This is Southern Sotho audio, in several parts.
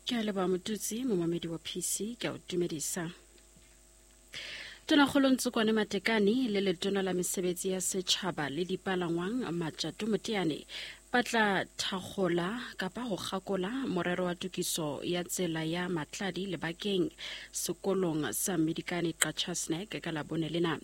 Ke a leboha Motutsi, momamedi wa PC, ke a o dumedisa. Tonakgolo Ntsokwane Matekane le letona la mesebetsi ya setjhaba le dipalangwang Matjato Moteane ba tla thakgola kapa ho kgakola morero wa tokiso ya tsela ya Matladi lebakeng sekolong sa Medikane Qachatsnek ka Labone lena.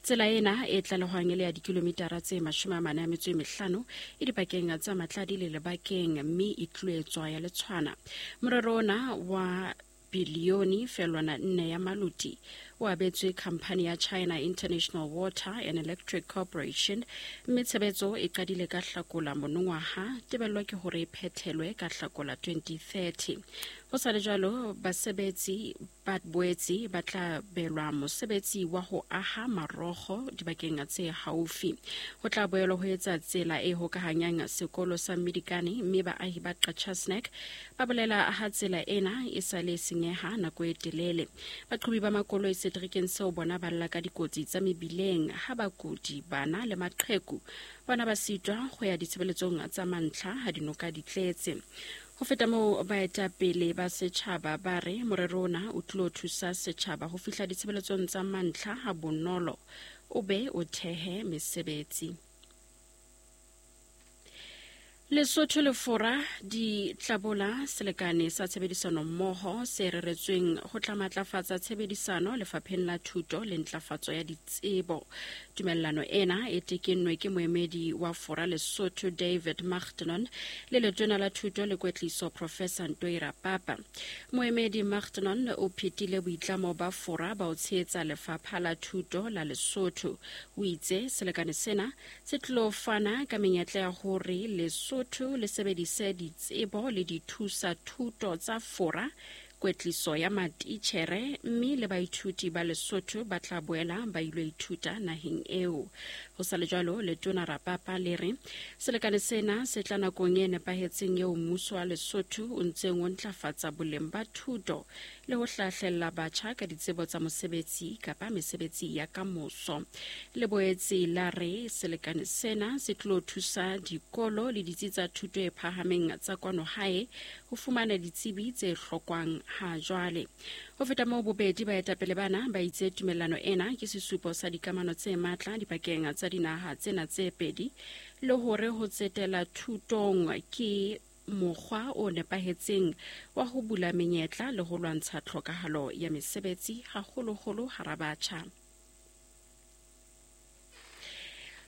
Tsela ena e tlalehwang e le ya dikilomitara tse 45 e dipakeng tsa Matladi le Lebakeng mme e tloetswa ya letshwana. Morero ona wa bilione felwana nne ya maluti o abetswe khamphani ya China International Water and Electric Corporation mme tshebetso e qadile ka Hlakola monongwaha, tebello ke hore e phethelwe ka Hlakola 2030. Ho sa le jwalo, basebetsi ba boetse ba tla belwa mosebetsi wa ho aha marogo dibakeng tse haufi. Ho tla boelwa ho etsa tsela e hokahanyang sekolo sa Mmidikane mme baahi ba Qachatsnek ba bolela ha tsela ena e sa le senyeha nako e telele. Baqhobi ba makoloi seterekeng seo bona ba lla ka dikotsi tsa mebileng ha bakudi, bana le maqheku bona ba sitwa go ya ditshebeletsong tsa mantlha ha dinoka di tletse. Ho feta moo, baetapele ba setjhaba ba re morero ona o tlilo thusa setjhaba ho fihla ditshebeletsong tsa mantlha ha bonolo o be o thehe mesebetsi. Lesotho le Fora di tlabola selekane sa tshebedisano mmoho se reretsweng ho tla matlafatsa tshebedisano lefapheng la thuto le ntlafatso ya ditsebo. Tumellano ena e tekennwe ke moemedi wa Fora Lesotho David Machtnon le letona la thuto le kwetliso Professor Ntoira Papa. Moemedi Machtnon o phetile boitlamo ba Fora ba ho tshehetsa lefapha la thuto la Lesotho. O itse selekane sena se tlilo fana ka menyetla ya hore Lesotho le sebedise ditsebo le dithusa thuto tsa Fora, kwetliso ya matitjhere mme le baithuti ba Lesotho ba tla boela ba ilo ithuta naheng eo. Ho sa le jwalo, letona Rapapa le re selekane sena se tla nakong e nepahetseng eo mmuso wa Lesotho o ntseng o ntlafatsa boleng ba thuto le ho hlahlella batjha ka ditsebo tsa mosebetsi kapa mesebetsi ya kamoso. Le boetse la re selekane sena se tlo thusa dikolo le ditsi tsa thuto e phahameng tsa kwano hae ho fumana ditsebi tse hlokwang ha jwale. Ho feta moo, bobedi baetapele bana ba itse tumellano ena ke sesupo sa dikamano tse matla dipakeng tsa dinaha tsena tse pedi le hore ho tsetela thutong ke mokgwa o nepahetseng wa ho bula menyetla le ho lwantsha tlhokahalo ya mesebetsi haholoholo hara batjha.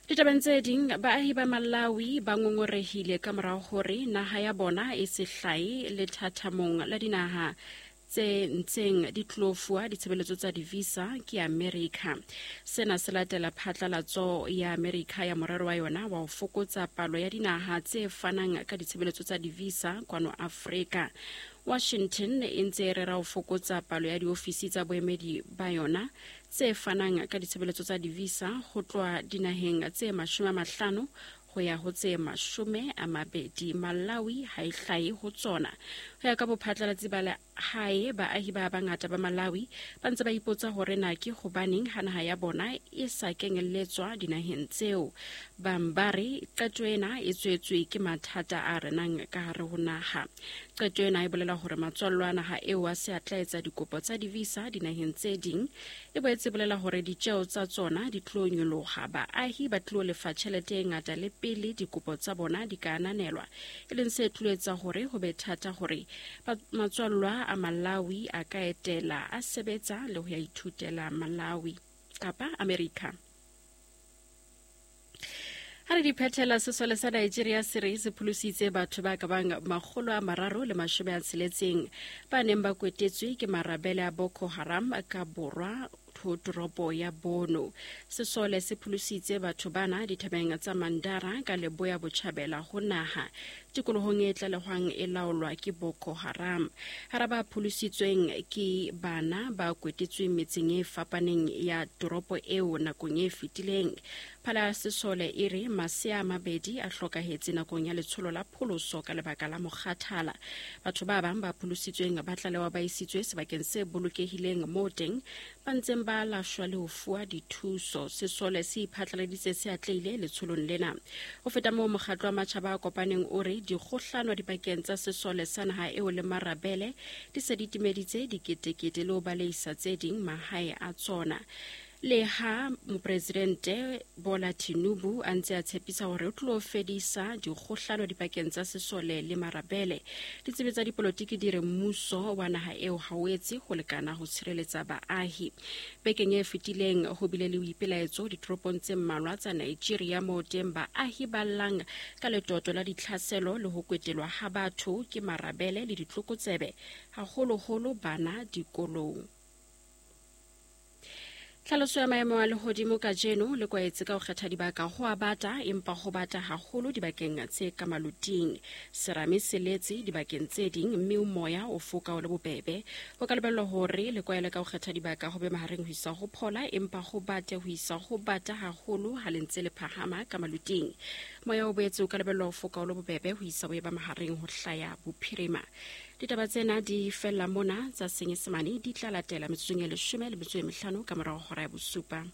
Ditabeng tse ding, baahi ba Malawi ba ngongorehile ka morao hore naha ya bona e se hlae lethathamong la dinaha tse ntseng di tlo fuwa ditshebeletso tsa di-visa ke Amerika. Sena se latela phatlalatso ya Amerika ya morero wa yona wa ho fokotsa palo ya dinaha tse fanang ka ditshebeletso tsa di-visa kwano Afrika. Washington e ntse e rera ho fokotsa palo ya diofisi tsa boemedi ba yona tse fanang ka ditshebeletso tsa di-visa ho tloha dinaheng tse 50 ho ya ho tse 20. Malawi ha e hlahe ho tsona. Ho ya ka bophatlalatsi ba lehae, baahi ba bangata ba Malawi ba ntse ba ipotsa hore na ke hobaneng ha naha ya bona e sa kenyelletswa dinaheng tseo. Bang ba re qeto ena e tswetswe ke mathata a renang ka hare ho naha. Qeto ena e bolela hore matswallo a naha eo a se a tla etsa dikopo tsa di-visa dinaheng tse ding. E boetse e bolela hore ditjeo tsa tsona di tlo nyoloha, baahi ba tlo lefa tjhelete e ngata le pele dikopo tsa bona di ka ananelwa, e leng se tlo etsa hore ho be thata hore matswallwa a Malawi a ka etela, a sebetsa le ho ya ithutela Malawi kapa Amerika. Ha re di phethela, sesole sa Nigeria se re se pholositse batho ba ka bang 360 ba neng ba kwetetswe ke marabele a Boko Haram ka borwa ho toropo ya Bono. Sesole se pholositse batho bana dithabeng tsa Mandara ka leboya botjhabela ho naha, tikolohong e tlalehwang e laolwa ke Boko Haram. Hara ba pholositsweng ke bana ba kwetetsweng metseng e fapaneng ya toropo eo nakong e fetileng. Phala ya sesole e re masea a mabedi a hlokahetse nakong ya letsholo la pholoso ka lebaka la mokgathala. Batho ba bang ba pholositsweng ba tlalewa ba isitswe sebakeng se bolokehileng moo teng ba ntseng ba alashwa le ho fuwa dithuso. Sesole se iphatlaladitse se atlehile letsholong lena. Ho feta moo, mokgatlo wa matjhaba a kopaneng o re Dikgohlano dipakeng tsa sesole sa naha eo le marabele di se di timeditse diketekete le ho baleisa tse ding mahae a tsona. Leha mopresidente Bola Tinubu a ntse a tshepisa hore o tlo fedisa dikgohlano dipakeng tsa sesole le marabele, ditsebi tsa dipolotiki di re mmuso wa naha eo ha o etse ho lekana ho tshireletsa baahi. Bekeng e fetileng ho bile le boipelaetso ditoropong tse mmalwa tsa Nigeria moo teng baahi ba llang ka letoto la ditlhaselo le ho kwetelwa ha batho ke marabele le ditlokotsebe, haholoholo bana dikolong. Tlhaloso ya maemo a lehodimo kajeno le kwaetse ka ho kgetha dibaka ho a bata, empa ho bata haholo dibakeng tse ka maloting. Serame se letse dibakeng tse ding mme moya o foka o le bobebe. Ho ka lebellwa hore le kwaele ka ho kgetha dibaka ho be mahareng ho isa ho phola, empa ho bate ho isa ho bata haholo ha le ntse le phahama ka maloting. Moya o boetse o ka lebellwa ho foka o le bobebe ho isa ho eba mahareng ho hlaya bophirima. Ditaba tsena di fella mona tsa Senyesemane di tla latela metsotsong e 15 ka morago hora ya bosupa.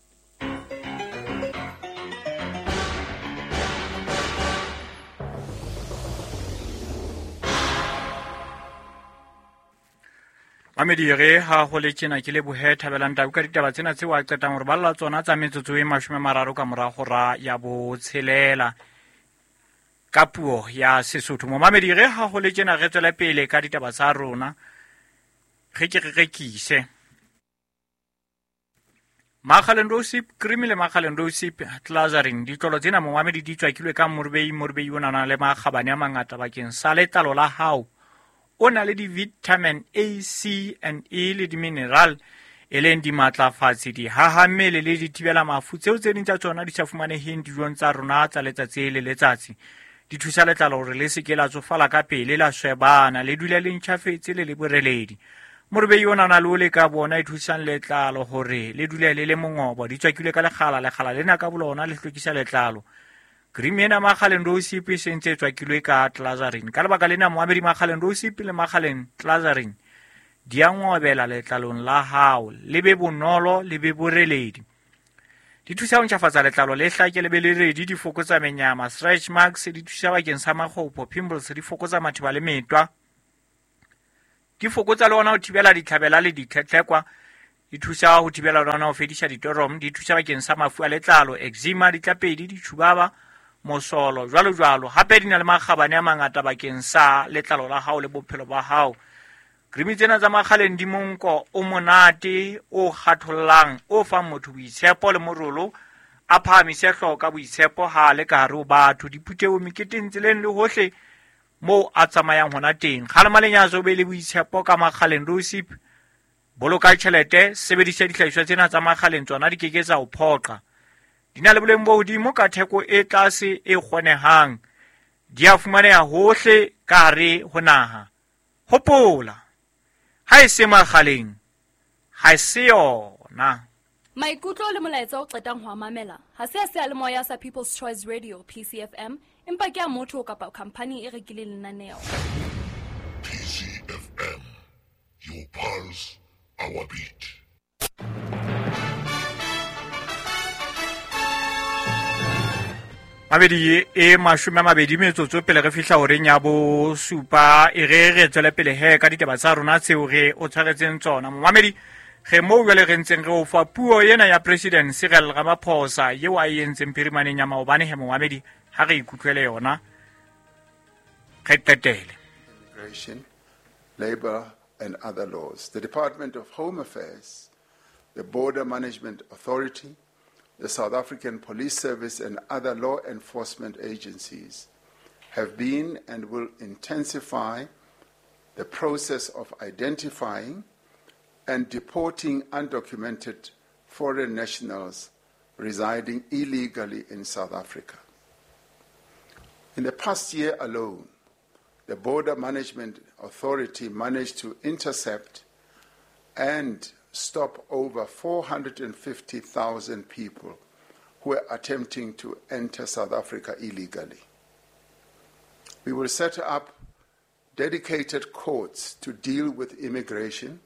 Mamedi re ha ho le tjena ke lebohe Thabelang Tau ka ditaba tsena tseo a qetang hore balla tsona tsa metsotso e 30 ka mora hora ya botshelela ka puo ya Sesotho. Momamedi re ha ho le tjena re tswele pele ka ditaba tsa rona, re ke re rekise Makgaleng Rosip cream le Makgaleng Rosip Glazarin. Ditlolo tsena momamedi di tswakilwe ka morubei. Morubei o nana le makgabane a mangata bakeng sa letlalo la hao. O na le di-vitamin A, C and E le di-mineral e leng dimatlafatsi, dihahammele le dithibela mafu tseo tse ding tsa tsona di sa fumaneheng dijong tsa rona tsa letsatsi le letsatsi. Di thusa letlalo hore le se ke la tsofala ka pele, la swebana, le dule le ntjhafetse le le boreledi. Morubei o nana le o le ka bona e thusang letlalo hore le dule le le mongobo. Di tswakilwe ka lekgala, lekgala lena ka bolona le hlwekisa letlalo. Cream ena Makgaleng Rosip e sentse e tswakilwe ka Glazarin. Ka lebaka lena moamedi Makgaleng Rosip le Makgaleng Glazarin di a ngobela letlalong la hao, le be bonolo, le be boreledi. Di thusa ho ntjhafatsa letlalo le hlake le be le redi, di fokotsa menyama, stretch marks, di thusa bakeng sa makgopo, pimples, di fokotsa matheba le metwa. Di fokotsa le ona ho thibela ditlhabela le ditlhetlhekwa, di thusa ho thibela le ona ho fedisa ditorom, di thusa bakeng sa mafu a letlalo, eczema, ditlapedi, ditjhubaba, mosolo, jwalo jwalo. Hape di na le makgabane a mangata bakeng sa letlalo la hao le bophelo ba hao. Cream tsena tsa Makgaleng di monko o monate, o kgathollang, o fang motho boitshepo le morolo, a phahamise hlooho ka boitshepo ha a le ka hare ho batho, diphuthehong, meketeng, tseleng le hohle moo a tsamayang hona teng. Kgalema lenyatso, o be le boitshepo ka Makgaleng Rosip. Boloka tjhelete, sebedisa dihlahiswa tsena tsa Makgaleng, tsona di keke tsa o phoqa. Di na le boleng bo hodimo ka theko e tlase e kgonehang. Di a fumaneha hohle ka hare ho naha. Hopola, ha e se Makgaleng, ha e se yona. Maikutlo le molaetsa o qetang ho a mamela ha se a seyalemoya sa People's Choice Radio PCFM, empa ke a motho kapa khampani e rekileng lenaneo. PCFM, your pulse, our beat. Mabedi e 20 metsotso pele re fihla horeng ya bosupa, e re re tswele pele he ka ditaba tsa rona tseo re o tshwaretseng tsona. Momamedi, re moo jwale re ntseng re o fa puo ena ya President Cyril Ramaphosa eo a e entseng phirimaneng ya maobane. He momamedi, ha re ikutlwele yona, re qetele. Immigration, labor and other laws. The Department of Home Affairs, the Border Management Authority, the South African Police Service and other law enforcement agencies have been and will intensify the process of identifying and deporting undocumented foreign nationals residing illegally in South Africa. In the past year alone, the Border Management Authority managed to intercept and stop over 450,000 people who were attempting to enter South Africa illegally. We will set up dedicated courts to deal with immigration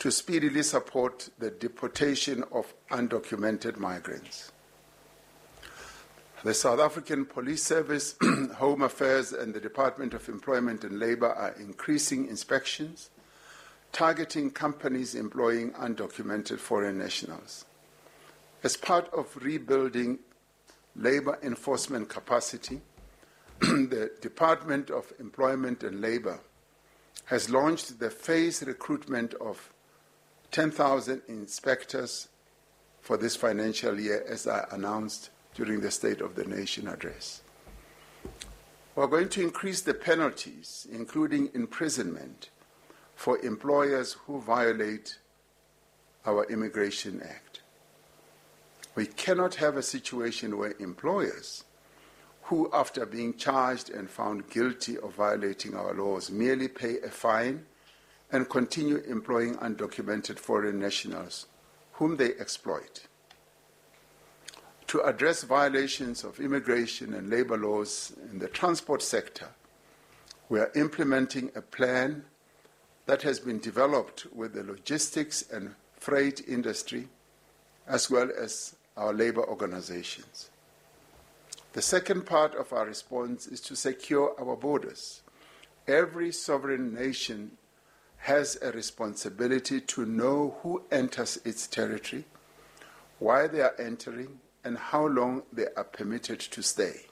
to speedily support the deportation of undocumented migrants. The South African Police Service, Home Affairs, and the Department of Employment and Labour are increasing inspections, targeting companies employing undocumented foreign nationals. As part of rebuilding labour enforcement capacity, the Department of Employment and Labour has launched the phased recruitment of 10,000 inspectors for this financial year, as I announced during the State of the Nation address. We are going to increase the penalties, including imprisonment, for employers who violate our Immigration Act. We cannot have a situation where employers who, after being charged and found guilty of violating our laws, merely pay a fine and continue employing undocumented foreign nationals whom they exploit. To address violations of immigration and labor laws in the transport sector, we are implementing a plan that has been developed with the logistics and freight industry, as well as our labor organizations. The second part of our response is to secure our borders. Every sovereign nation has a responsibility to know who enters its territory, why they are entering, and how long they are permitted to stay.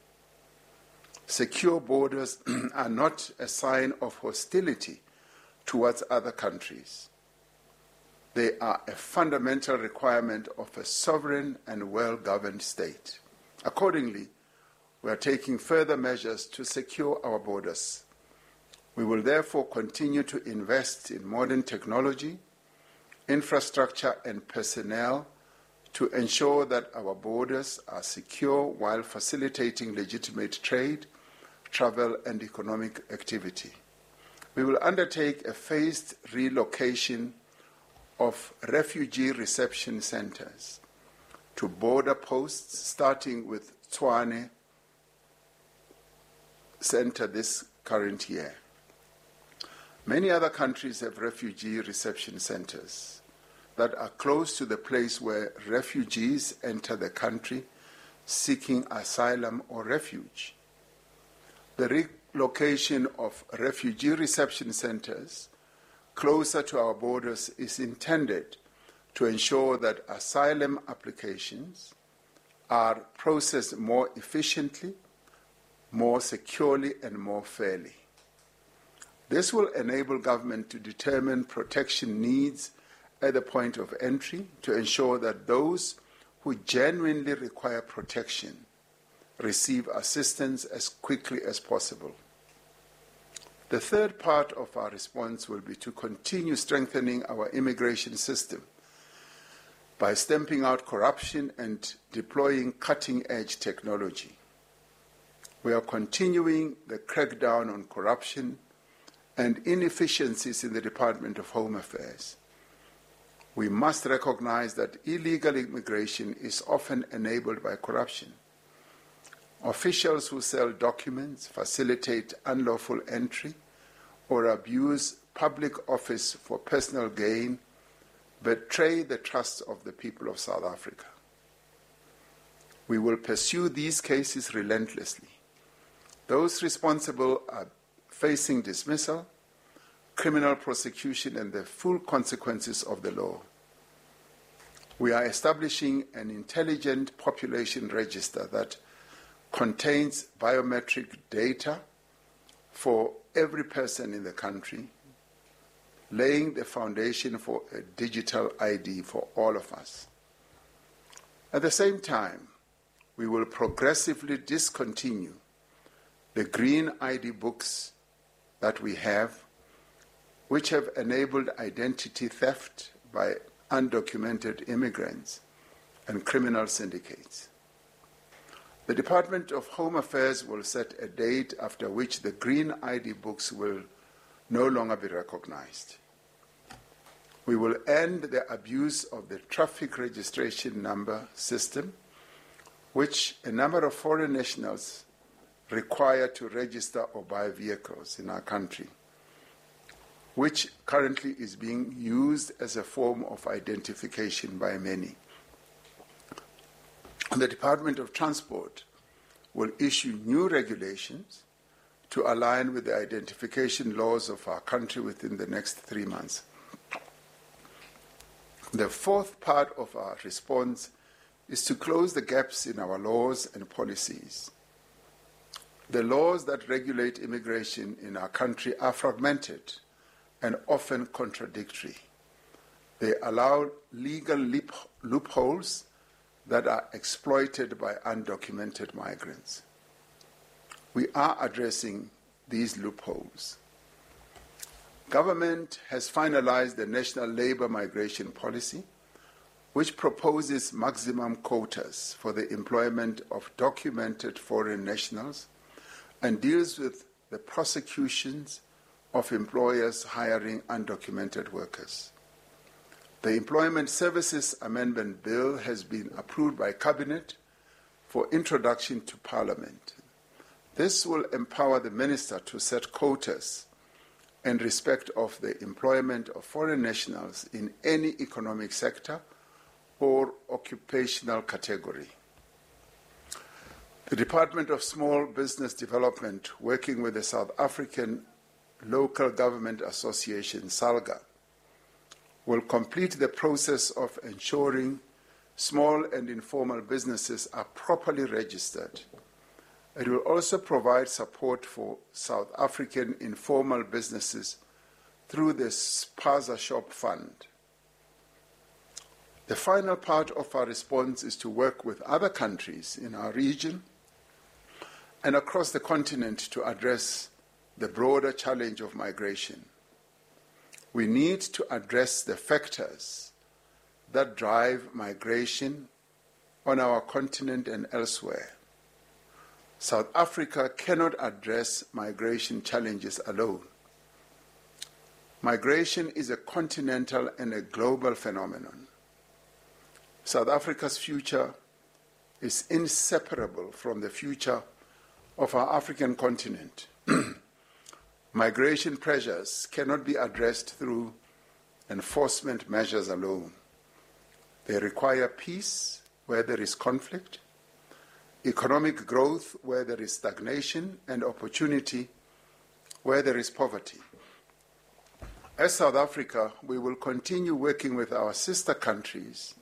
Secure borders are not a sign of hostility towards other countries. They are a fundamental requirement of a sovereign and well-governed state. Accordingly, we are taking further measures to secure our borders. We will therefore continue to invest in modern technology, infrastructure, and personnel to ensure that our borders are secure while facilitating legitimate trade, travel, and economic activity. We will undertake a phased relocation of refugee reception centers to border posts, starting with Tshwane Center this current year. Many other countries have refugee reception centers that are close to the place where refugees enter the country seeking asylum or refuge. The relocation of refugee reception centers closer to our borders is intended to ensure that asylum applications are processed more efficiently, more securely, and more fairly. This will enable government to determine protection needs at the point of entry to ensure that those who genuinely require protection receive assistance as quickly as possible. The third part of our response will be to continue strengthening our immigration system by stamping out corruption and deploying cutting-edge technology. We are continuing the crackdown on corruption and inefficiencies in the Department of Home Affairs. We must recognize that illegal immigration is often enabled by corruption. Officials who sell documents, facilitate unlawful entry, or abuse public office for personal gain betray the trust of the people of South Africa. We will pursue these cases relentlessly. Those responsible are facing dismissal, criminal prosecution, and the full consequences of the law. We are establishing an intelligent population register that contains biometric data for every person in the country, laying the foundation for a digital ID for all of us. At the same time, we will progressively discontinue the green ID books that we have, which have enabled identity theft by undocumented immigrants and criminal syndicates. The Department of Home Affairs will set a date after which the green ID books will no longer be recognized. We will end the abuse of the traffic registration number system, which a number of foreign nationals require to register or buy vehicles in our country, which currently is being used as a form of identification by many. The Department of Transport will issue new regulations to align with the identification laws of our country within the next 3 months. The fourth part of our response is to close the gaps in our laws and policies. The laws that regulate immigration in our country are fragmented and often contradictory. They allow legal loopholes that are exploited by undocumented migrants. We are addressing these loopholes. Government has finalized the National Labour Migration Policy, which proposes maximum quotas for the employment of documented foreign nationals and deals with the prosecutions of employers hiring undocumented workers. The Employment Services Amendment Bill has been approved by Cabinet for introduction to Parliament. This will empower the Minister to set quotas in respect of the employment of foreign nationals in any economic sector or occupational category. The Department of Small Business Development, working with the South African Local Government Association, SALGA, will complete the process of ensuring small and informal businesses are properly registered. It will also provide support for South African informal businesses through the Spaza Shop Fund. The final part of our response is to work with other countries in our region and across the continent to address the broader challenge of migration. We need to address the factors that drive migration on our continent and elsewhere. South Africa cannot address migration challenges alone. Migration is a continental and a global phenomenon. South Africa's future is inseparable from the future of our African continent. Migration pressures cannot be addressed through enforcement measures alone. They require peace where there is conflict, economic growth where there is stagnation, and opportunity where there is poverty. As South Africa, we will continue working with our sister countries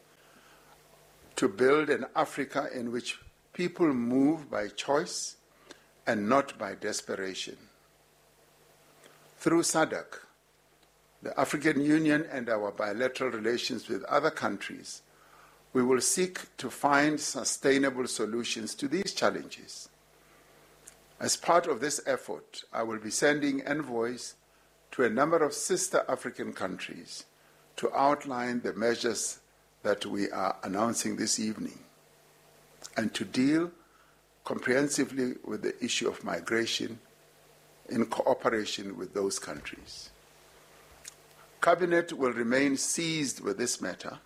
to build an Africa in which people move by choice and not by desperation. Through SADC, the African Union, and our bilateral relations with other countries, we will seek to find sustainable solutions to these challenges. As part of this effort, I will be sending envoys to a number of sister African countries to outline the measures that we are announcing this evening and to deal comprehensively with the issue of migration in cooperation with those countries. Cabinet will remain seized with this matter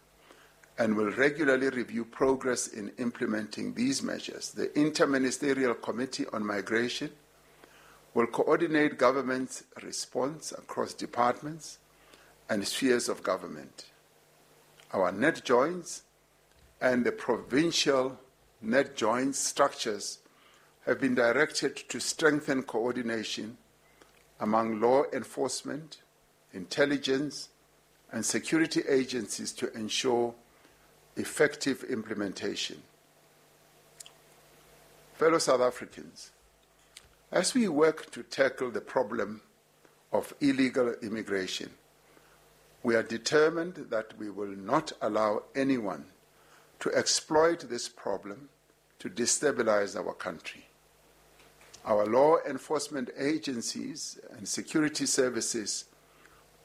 and will regularly review progress in implementing these measures. The Interministerial Committee on Migration will coordinate government's response across departments and spheres of government. Our NatJoints and the provincial NatJoints structures have been directed to strengthen coordination among law enforcement, intelligence, and security agencies to ensure effective implementation. Fellow South Africans, as we work to tackle the problem of illegal immigration, we are determined that we will not allow anyone to exploit this problem to destabilize our country. Our law enforcement agencies and security services,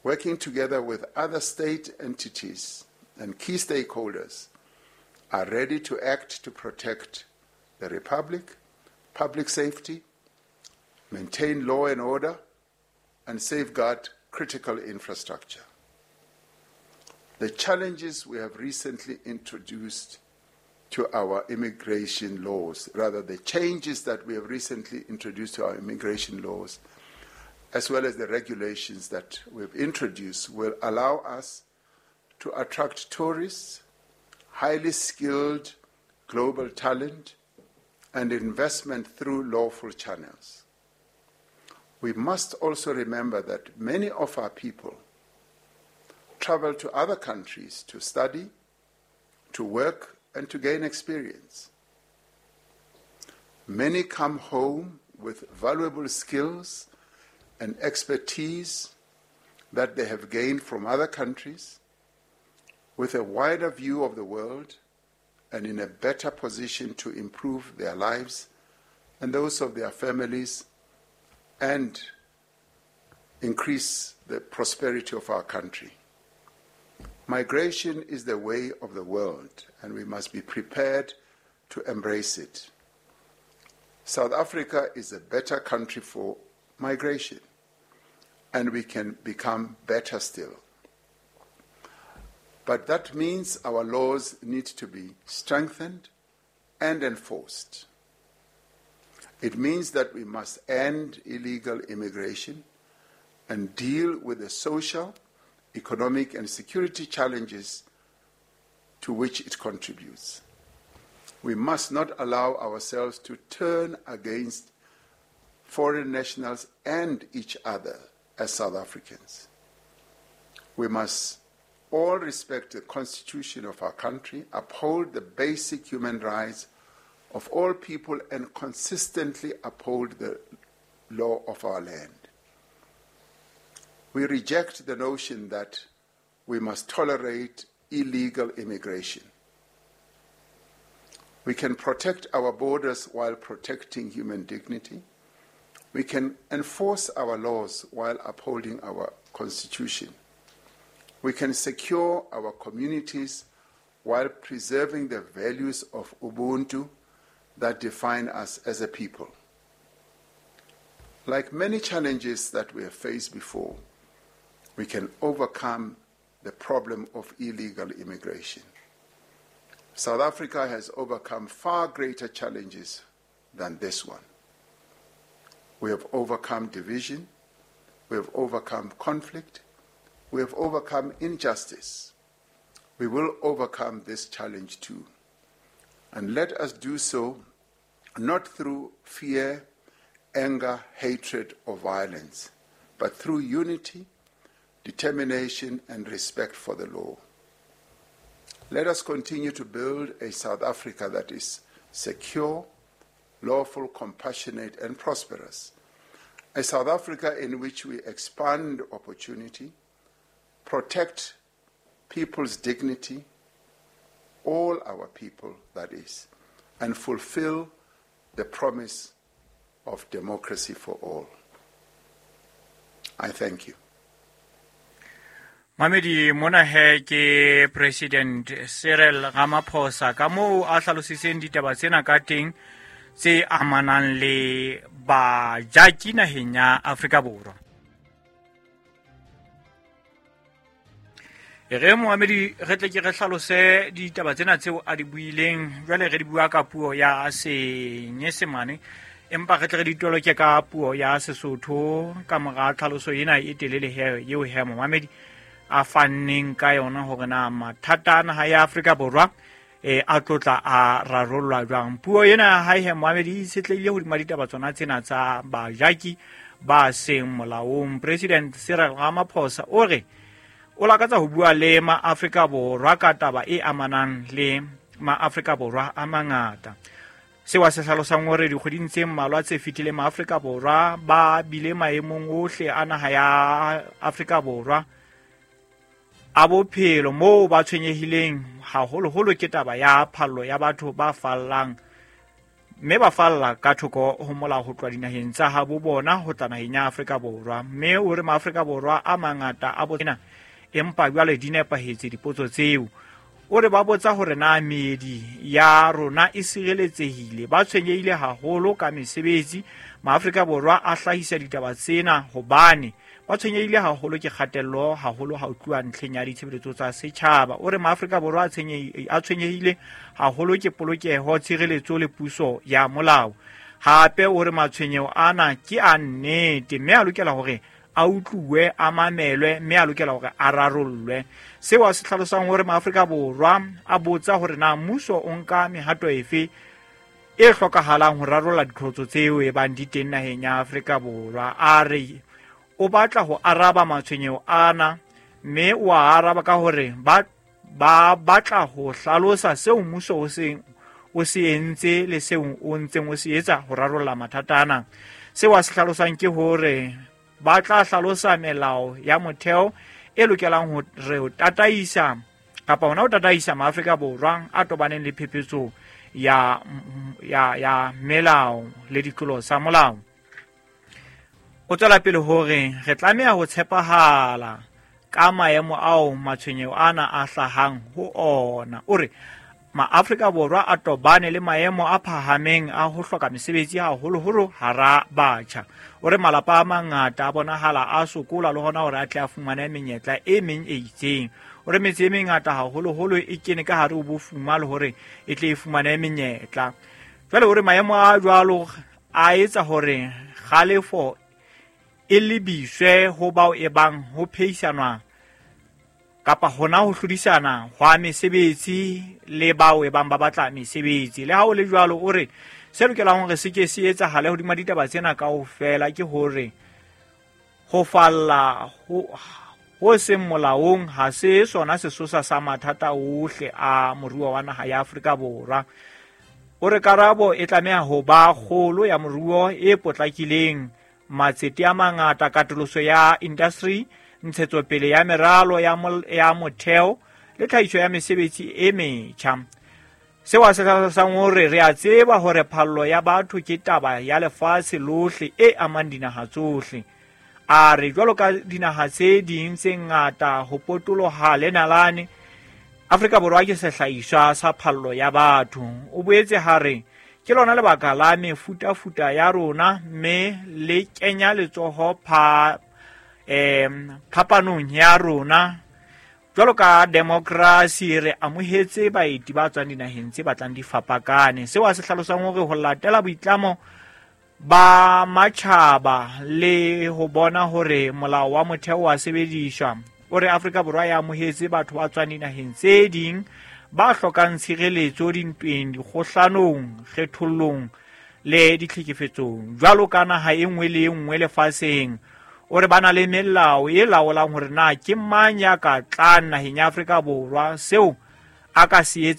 working together with other state entities and key stakeholders, are ready to act to protect the Republic, public safety, maintain law and order, and safeguard critical infrastructure. The challenges we have recently introduced to our immigration laws, rather the changes that we have recently introduced to our immigration laws, as well as the regulations that we've introduced, will allow us to attract tourists, highly skilled global talent, and investment through lawful channels. We must also remember that many of our people travel to other countries to study, to work, and to gain experience. Many come home with valuable skills and expertise that they have gained from other countries, with a wider view of the world and in a better position to improve their lives and those of their families and increase the prosperity of our country. Migration is the way of the world, and we must be prepared to embrace it. South Africa is a better country for migration, and we can become better still. But that means our laws need to be strengthened and enforced. It means that we must end illegal immigration and deal with the social, economic, and security challenges to which it contributes. We must not allow ourselves to turn against foreign nationals and each other as South Africans. We must all respect the constitution of our country, uphold the basic human rights of all people, and consistently uphold the law of our land. We reject the notion that we must tolerate illegal immigration. We can protect our borders while protecting human dignity. We can enforce our laws while upholding our constitution. We can secure our communities while preserving the values of Ubuntu that define us as a people. Like many challenges that we have faced before, we can overcome the problem of illegal immigration. South Africa has overcome far greater challenges than this one. We have overcome division, we have overcome conflict, we have overcome injustice. We will overcome this challenge too. And let us do so not through fear, anger, hatred, or violence, but through unity, determination, and respect for the law. Let us continue to build a South Africa that is secure, lawful, compassionate, and prosperous. A South Africa in which we expand opportunity, protect people's dignity, all our people, that is, and fulfill the promise of democracy for all. I thank you. Mamedi mona he ke President Cyril Ramaphosa ka moo a hlalositseng ditaba tsena ka teng tse amanang le bajaki naheng ya Afrika Borwa. Re moamedi re tle ke re hlalose ditaba tsena tseo a di buileng, jwale re di bua ka puo ya Senyesemane, empa re tle re di toloke ka puo ya Sesotho ka mora tlhaloso ena e telele he eo he moamedi a fanneng ka yona hore na mathata a naha ya Afrika Borwa a tlotla a rarollwa jwang. Puo ena ha he moamedi e itshetlehile hodima ditaba tsona tsena tsa bajaki ba seng molaong. President Cyril Ramaphosa o re o lakatsa ho bua le maAfrika Borwa ka taba e amanang le maAfrika Borwa a mangata. Seo a se hlalosang hore dikgweding tse mmalwa tse fetileng maAfrika Borwa ba bile maemong ohle a naha ya Afrika Borwa a bophelo moo ba tshwenyehileng haholoholo ke taba ya phallo ya batho ba fallang, mme ba falla ka thoko ho molao ho tloha dinaheng tsa habo bona ho tla naheng ya Afrika Borwa. Mme o re maAfrika Borwa a mangata a bona, empa jwale di nepahetse dipotso tseo. O re ba botsa hore na meedi ya rona e sireletsehile. Ba tshwenyehile haholo ka mesebetsi. MaAfrika Borwa a hlahisa ditaba tsena hobane ba tshwenyehile haholo ke kgatello haholo ha o tluwa ntlheng ya ditshebeletso tsa setjhaba. O re maAfrika Borwa a tshwenyehile haholo ke polokeho, tshireletso le puso ya molao. Hape o re matshwenyeho ana ke a nnete mme a lokela hore a utluwe, a mamelwe, mme a lokela hore a rarollwe. Seo a se hlalosang hore maAfrika Borwa a botsa hore na mmuso o nka mehato efe e hlokahalang ho rarolla diqholotso tseo e bang di teng naheng ya Afrika Borwa. A re o batla ho araba matshwenyeho ana, mme o a araba ka hore ba batla ho hlalosa seo mmuso o se entse le seo o ntseng o se etsa ho rarolla mathata ana. Seo a se hlalosang ke hore ba tla hlalosa melao ya motheo e lokelang ho re tataisa kapa hona ho tataisa maAfrika Borwa a tobaneng le phephetso ya melao le ditlolo tsa molao. O tswela pele hore re tlameha ho tshepahala ka maemo ao matshwenyeho ana a hlahang ho ona. O re maAfrika Borwa a tobane le maemo a phahameng a ho hloka mesebetsi haholoholo hara batjha. O re malapa a mangata a bonahala a sokola le hona hore a tle a fumane menyetla e meng e itseng. O re metse e mengata haholoholo e kene ka hare ho bofuma le hore e tle e fumane menyetla. Jwale o re maemo a jwalo a etsa hore kgalefo e lebiswe ho bao e bang ho phehisanwa kapa hona ho hlodisana hwa mesebetsi le bao e bang ba batla mesebetsi. Le ha o le jwalo, o re se lokelang hore se ke se etsahale hodima ditaba tsena kaofela ke hore ho falla ho seng molaong ha se sona sesosa sa mathata ohle a moruo wa naha ya Afrika Borwa. O re karabo e tlameha ho ba kgolo ya moruo e potlakileng, matsete a mangata, katoloso ya industry, ntshetsopele ya meralo ya motheo le tlhahiso ya mesebetsi e metjha. Seo a se hlalosang hore re a tseba hore phallo ya batho ke taba ya lefatshe lohle e amang dinaha tsohle. A re jwalo ka dinaha tse ding tse ngata ho potoloha le nalane, Afrika Borwa ke sehlahiswa sa phallo ya batho. O boetse ha re ke lona lebaka la mefutafuta ya rona, mme le kenya letsoho phapanong ya rona. Jwalo ka demokrasi re amohetse baeti ba tswang dinaheng tse batlang di fapakane. Seo a se hlalosang hore ho latela boitlamo ba matjhaba le ho bona hore molao wa motheo wa sebediswa. O re Afrika Borwa ya amohetse batho ba tswang dinaheng tse ding ba hlokang tshireletso dintweng, dikgohlanong, kgethollong le ditlhekefetsong jwalo ka naha e nngwe le e nngwe lefatsheng. O re ba na le melao e laolang hore na ke mang ya ka tlang naheng ya Afrika Borwa, seo a ka se